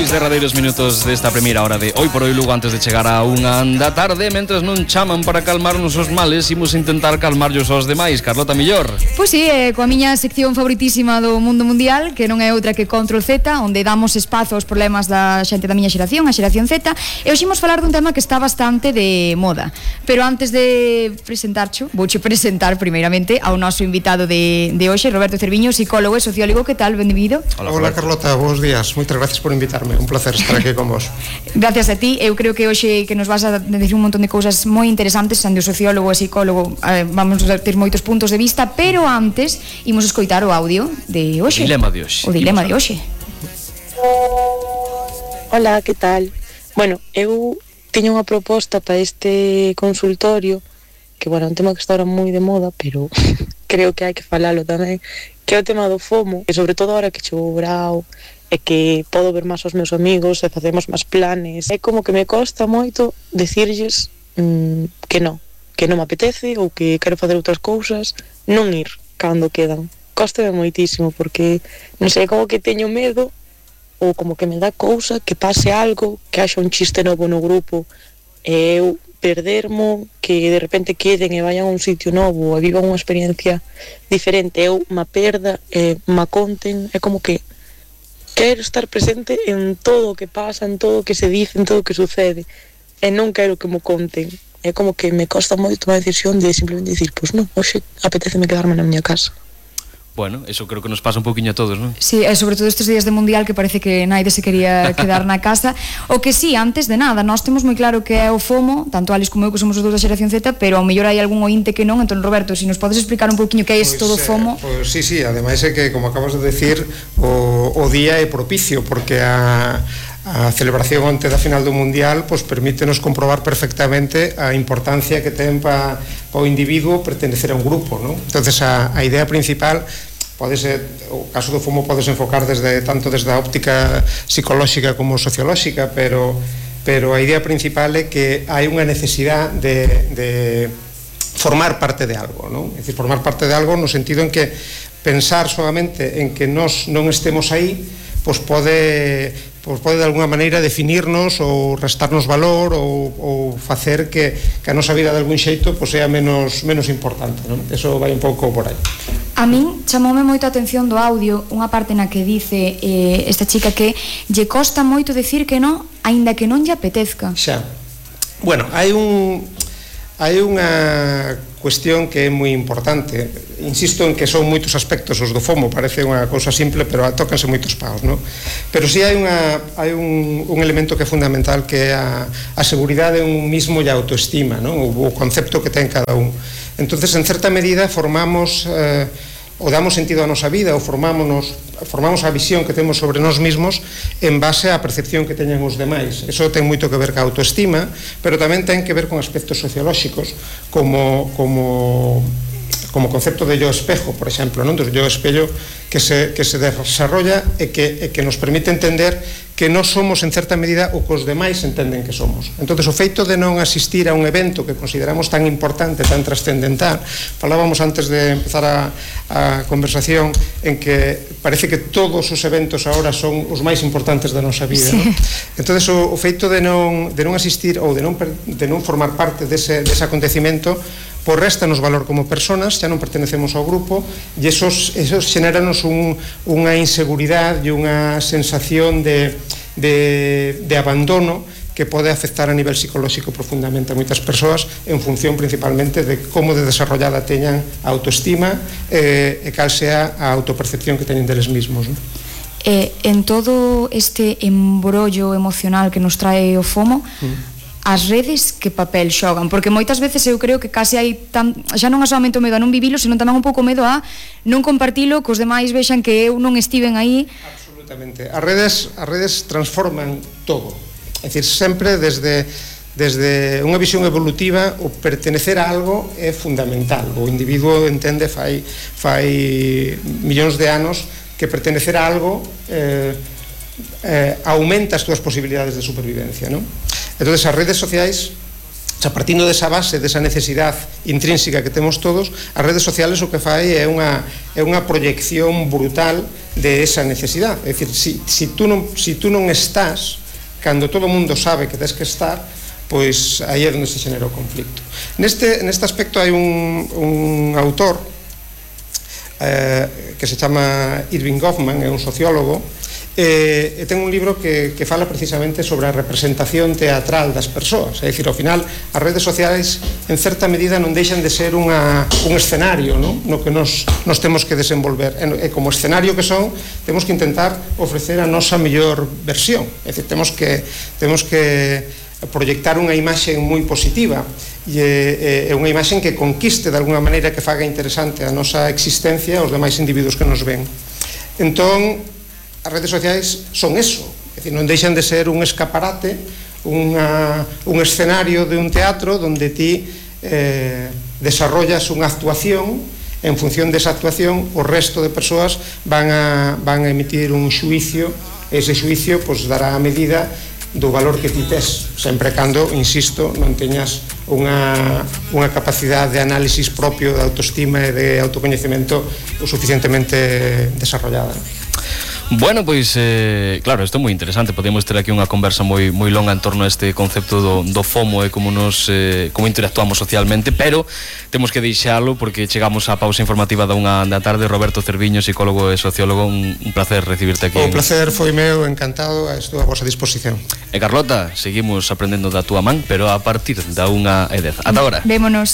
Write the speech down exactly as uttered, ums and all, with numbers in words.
seis derradeiros minutos desta primeira hora de Hoy por Hoy Lugo antes de chegar a unha da tarde. Mentres non chaman para calmarnos os males, imos intentar calmarllos aos demais. Carlota, millor? Pois si, eh, coa miña sección favoritísima do mundo mundial, que non é outra que Control Z, onde damos espazo aos problemas da xente da miña xeración, a xeración Z. E hoxe imos falar dun tema que está bastante de moda. Pero antes de presentarcho, vouche presentar primeiramente ao noso invitado de, de hoxe, Roberto Cerviño, psicólogo e sociólogo. Que tal? Benvido. Hola, Hola Carlota, bons días. Moitas gracias por invitarme. Un placer estar aquí con vos. Gracias a ti. Eu creo que hoxe que nos vas a decir un montón de cousas moi interesantes, sendo sociólogo e psicólogo, eh, vamos a ter moitos puntos de vista, pero antes imos escoitar o audio de hoxe. O dilema de hoxe. O dilema de hoxe. Hola, que tal? Bueno, eu tiña unha proposta para este consultorio, que, bueno, é un tema que está ahora moi de moda, pero creo que hai que falalo tamén, que é o tema do FOMO, e sobre todo ahora que chegou o verao, e que podo ver máis os meus amigos e facemos máis planes. É como que me costa moito decirlles mmm, que non, que non me apetece ou que quero facer outras cousas, non ir cando quedan. Cóstame moitísimo porque, non sei, como que teño medo ou como que me dá cousa que pase algo, que haxa un chiste novo no grupo e eu perdermo, que de repente queden e vayan a un sitio novo e vivan unha experiencia diferente, eu me perda e me conten. É como que quero estar presente en todo o que pasa, en todo o que se dice, en todo o que sucede, e non quero que me conten. É como que me costa moito tomar a decisión de simplemente dicir, pois non, hoxe apeteceme quedarme na miña casa. Bueno, eso creo que nos pasa un poquinho a todos, non? Sí, e sobre todo estes días de mundial que parece que naide se quería quedar na casa. O que sí, antes de nada, nós temos moi claro que é o FOMO, tanto Alex como eu que somos os dous da xeración Z, pero ao mellor hai algún ointe que non. Entón, Roberto, se si nos podes explicar un poquinho que é isto do FOMO. Pois sí, sí, ademais é que, como acabas de decir, o, o día é propicio, porque a a celebración onte da final do Mundial pois permítenos comprobar perfectamente a importancia que ten para pa o individuo pertenecer a un grupo, non? Entonces a, a idea principal pode ser, o caso do FOMO podes enfocar desde tanto desde a óptica psicolóxica como sociolóxica, pero pero a idea principal é que hai unha necesidade de, de formar parte de algo, non? É dicir, formar parte de algo no sentido en que pensar solamente en que nós non estemos aí pois pode pois pode de alguna maneira definirnos ou restarnos valor ou, ou facer que, que a nosa vida de algún xeito pois sea menos, menos importante, non? Eso vai un pouco por aí. A min chamoume moito a atención do audio unha parte na que dice eh, esta chica que lle costa moito decir que non, aínda que non lle apetezca. Xa. Bueno, hai un hai unha cuestión que é moi importante. Insisto en que son moitos aspectos os do FOMO, parece unha cousa simple, pero tócanse moitos paus, non? Pero si sí hai unha hai un, un elemento que é fundamental, que é a, a seguridade en un mismo e a autoestima, non? O, o concepto que ten cada un. Entonces, en certa medida, formamos eh, ou damos sentido á nosa vida, ou formámonos, formamos a visión que temos sobre nós mesmos en base á percepción que teñen os demais. Eso ten moito que ver ca autoestima, pero tamén ten que ver con aspectos sociolóxicos, como como como concepto de yo espejo, por exemplo, non? Do yo espello que se, que se desarrolla e que, e que nos permite entender que non somos en certa medida o que os demais entenden que somos. Entonces, o feito de non asistir a un evento que consideramos tan importante, tan trascendental, falábamos antes de empezar a, a conversación en que parece que todos os eventos agora son os máis importantes da nosa vida, sí. ¿No? Entonces, o, o feito de non, de non asistir ou de non, de non formar parte dese, dese acontecimento pois réstanos valor como personas, xa non pertenecemos ao grupo, e esos, esos xenéranos un, unha inseguridade e unha sensación de, de, de abandono que pode afectar a nivel psicolóxico profundamente a moitas persoas en función principalmente de como de desarrollada teñan a autoestima eh, e cal sea a autopercepción que teñen deles mismos, non? Eh, en todo este embrollo emocional que nos trae o FOMO, mm. as redes que papel xogan? Porque moitas veces eu creo que case hai tan, xa non é solamente o medo a non vivilo, senón tamén un pouco medo a non compartilo, que os demais vexan que eu non estiven aí. Absolutamente. As redes, as redes transforman todo. É dicir, sempre desde desde unha visión evolutiva o pertenecer a algo é fundamental. O individuo entende fai fai millóns de anos que pertenecer a algo eh, eh, aumenta as túas posibilidades de supervivencia, non? Entonces, as redes sociais xa partindo desa base, desa necesidade intrínseca que temos todos, as redes sociales o que fai é unha, é unha proyección brutal de esa necesidade. É dicir, si, si, tú non, si tú non estás, cando todo o mundo sabe que tens que estar, pois aí é onde se xenera o conflicto. Neste, neste aspecto hai un, un autor eh, que se chama Irving Goffman, é un sociólogo, e, e ten un libro que, que fala precisamente sobre a representación teatral das persoas. É dicir, ao final, as redes sociais en certa medida non deixan de ser unha, un escenario, non? No que nos, nos temos que desenvolver, e, e como escenario que son, temos que intentar ofrecer a nosa mellor versión. É dicir, temos que, temos que proyectar unha imaxe moi positiva e é unha imaxe que conquiste de alguna maneira, que faga interesante a nosa existencia aos demais individuos que nos ven. Entón, as redes sociais son eso, é dicir, non deixan de ser un escaparate, unha, un escenario de un teatro onde ti eh, desarrollas unha actuación, en función desa actuación o resto de persoas van a, van a emitir un xuicio, e ese xuicio pues, dará a medida do valor que ti tes, sempre cando, insisto, non teñas unha, unha capacidade de análisis propio, de autoestima e de autocoñecemento o suficientemente desarrollada. Bueno, pois, eh, claro, isto é moi interesante. Podemos ter aquí unha conversa moi moi longa en torno a este concepto do, do FOMO e como nos eh, como interactuamos socialmente, pero temos que deixalo porque chegamos á pausa informativa da unha da tarde. Roberto Cerviño, psicólogo e sociólogo, un, un placer recibirte aquí. O placer foi meu, encantado, estou a vosa disposición. E Carlota, seguimos aprendendo da túa man, pero a partir da unha e dez. Ata agora. Vémonos.